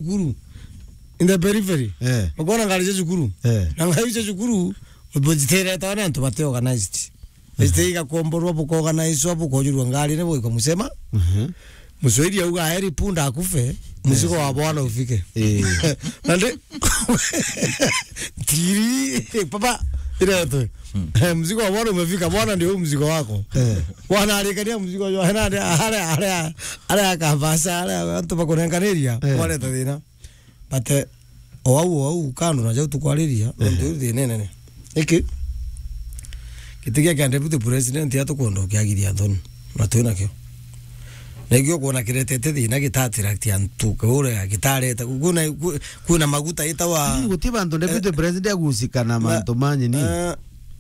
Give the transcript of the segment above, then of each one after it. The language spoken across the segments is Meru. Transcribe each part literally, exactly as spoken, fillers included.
cukuru. In the periphery. Eh. Ukoona ngari cia cukuru. Eh. Na ngari cia cukuru, bujitereta na antu bate organized. Zite igakomborwa, bukaorganizwa, bukojurwa ngari, ni buika musema. Mhm. Muswahili auga, "Heri punda akufe, mzigo wa bwana ufike." Eh. Na ndi-, tiri, papa, ile tu. Eh, mzigo wa bwana umefika, bwana ndio huu mzigo wako. Eh. Bwana alikania mzigo jo, hena ndio, ale, ale, ale akabasa, ale antu bakunenganiria, eh, waleta thina. But, eh, o au, o au, kando na jau tukwariria, ehe, nontu iu thina inene. Iki, giti kia, kia deputy president atukwenda ukiagithia thoni, na twi nakio. Na ikio kwona kiretete thina gitatiract antu, kuria gitareta, kwina, kwi-, kwina maguta itawa. Ii, guti bantu deputy, eh, president agusika na, na mantu manyi ni. Eh,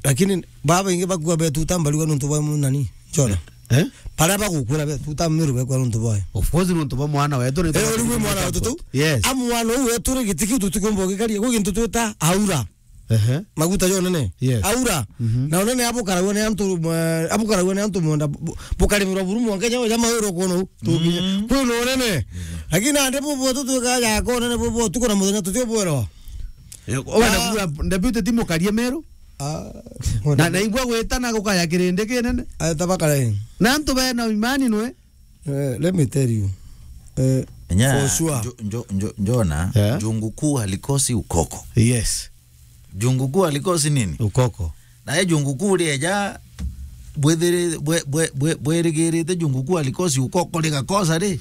lakini baba ingi bakua betuta mbarigwa nontu bwa munani. Jona. Eh? Baria bagukwira be, tuta Meru bekwa nontu bwayo. Of course, nontu bwa mwana wetu, ni. Eh, uri mwana wetu tu? Yes. Amu mwana uu wetu ri giti kiu tutikumba gikaria, gwi gintu twita aura. Ehe. Maguta jo nene. Yes. Aura. Mhm. Na unene abukaragwa ni antu, eh, abukaragwa ni antu munda, bu-, bukarimirwa buru mwanka nya, ja mauro kono, tukinya. Mm. Kwi no unene. Lakini ande bubu tutwika ja ko unene bubu tuko na muthenya tutio bwero. Eh, wenda kuga deputy ti mukarie Meru? Ah, na, na igua gwitana gukaya kirindi kinene. Aeta bakarae. Na antu bena imani nwe. Eh, let me tell you. Eh, nya, for sure. Njo-, njo-, njo-, njona, yeah, jungu kuu halikosi ukoko. Yes. Jungu kuu halikosi nini? Ukoko. Na e jungu kuu rieja, bwithiri-, bwe-, bwe-, bwe-, bwerigirite jungu kuu halikosi ukoko rigakosa ri?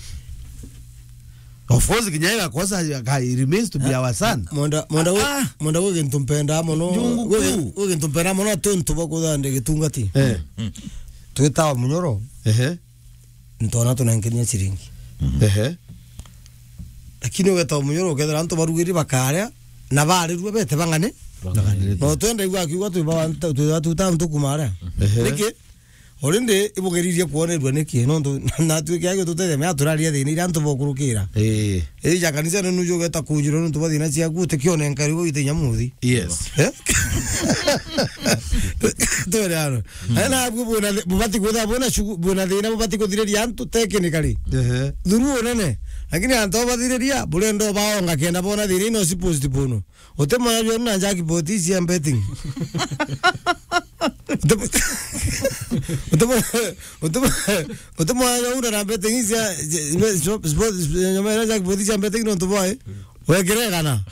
Of course, kinya igakosa, ka-, it remains to be, ah, our son. Mwenda, mwenda gu-, ah, mwenda gwi gintu mpendaa mono. Jungu kuu. Gwi gintu mpendaa mono, ati untu bwa kuthande gitungati. Eh. Mm. Twitawa munyoro. Ehe. Ntona tunenkeria ciringi. Ehe. Lakini ugetawa munyoro, ukethira antu barugiri bakaria, na barirua bete bang'ane. Bang'ane. No twenda igua akiuga twi ba-, twi ba tuta ntu kumaria. Ehe. Niki? Already ibugeririe kwonerua niki? Nontu natwike agio tutegemea turaria thina iria antu bokurukira. Eh. Ija kanisa nenu jugeta kunjirwa nontu bwa thina ciaku, utikio nenkari gwa ite nyamuthi. Yes. Eh? Twere ano. Mm. Ana abu buna, bubati kwitha buna shugu-, buna thina bubati kuthiriria antu technically. Ehe. Through unene. Lakini antu bathiriria, burenda baonga kenda bona thina ino si postpone. Uti mwanya jwenu na jackpot cia betting. Uti mwa-, uti mwa-, uti mwa-, uti mwanya jwenu na betting cia, cia, cia, sport, nyama ira jackpot cia betting nontu bwae. Wekire kana?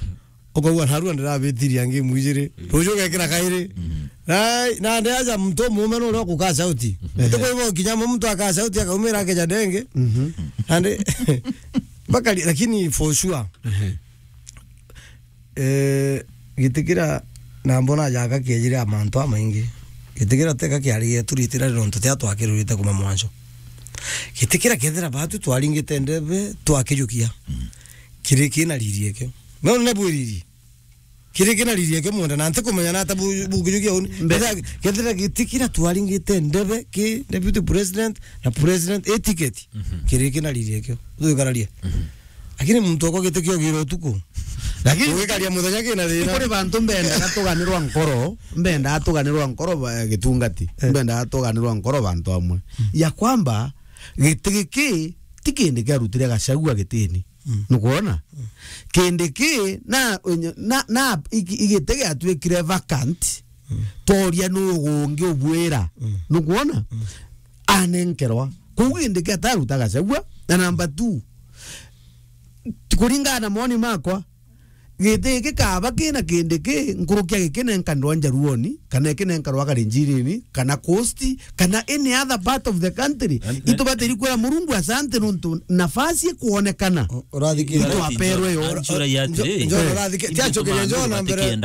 Ukaigua narua ndirabitiria ngi mwijiri. Ruju ugekira kairi. Mhm. Na, na ndi aja muntu mume nuria kuka sauti. Mhm. Uti kwa hivyo kinya muntu aka sauti akaumira akeja denge. Mhm. Ande, bakari, lakini for sure. Mhm. Eh, giti kira na mbona jaka kiejire a mantu amaingi. Giti kira teka kiari gietu ritira nontu tia twakirurite kuma mwanjo. Giti kira kethira batu twaringite ndebe twakijukia. Mm. Kiri kina riri ekio. No ne bwiriri. Kiri kina riri ekio mwenda na nti kumenya na ata bu-, bukijukia uni. Mbe- Kethira, kethira giti kira twaringite ndebe ki deputy president na president etiquette. Mhm. Kiri kina riri ekio. Twikararie. Mhm. Lakini muntu okwa giti kio gira utuku. Lakini ugikaria muthenya kina thina. Kuri bantu mbendaga tuganirwa nkoro, mbendaga tuganirwa nkoro ba-, gitungati. Eh. Mbendaga tuganirwa nkoro bantu amwe. Mm. Ya kwamba, giti giki ti kindi kiarutire Gachagua gitini. Mm. Nukwona? Mm. Kindi ki na, na, na iki-, igiti giatwikire vacant. Mm. Toria nu gungi ubwira. Mm. Nukwona? Mm. Anenkerwa. Kuu kindi ki ataruta Gachagua. Na number two, kuringana na moni makwa, giti giki kaba kina kindi ki nkuruki ya giki nenkanirwa Njaruoni, kana ikinenkarwa Kalenjinini, kana Coast, kana any other part of the country. Itubatiri kwira Murungu asante nontu nafasi ikwonekana. Urathikire. Itwaperwe yo. Anjura ya atiri. Njo, njo, urathikire. Tia nchokeria njo na mbere.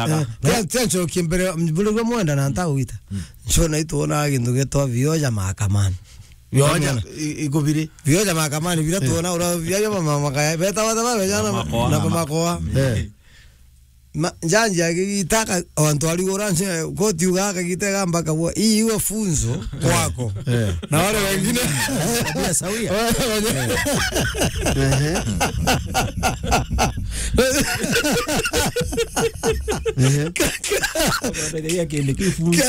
Tia, tia nchokie mbere, mbere mwenda na ntagwita. Mm. Njo na itwona gintu gitwa vioja mahakamani. Vioja, i-, ikubiri. Vioja mahakamani, vira tuona, ura, vioja mama makaya. Beta wata ba, vijana, na makoa. Eh. Ma, njanji agitaka, antu arigura nse, koti uga akagitega mpaka bwa, "Hii iwe funzo kwako." Eh. Na wale wengine. Tabia sawia. Wale wengine. Ehe. Ehe. Kende kifunzo.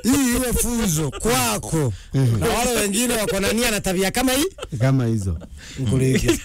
Hii iwe funzo kwako. Mhm. Na wale wengine wako na nia na tabia kama hii? Kama hizo. Nkuriki.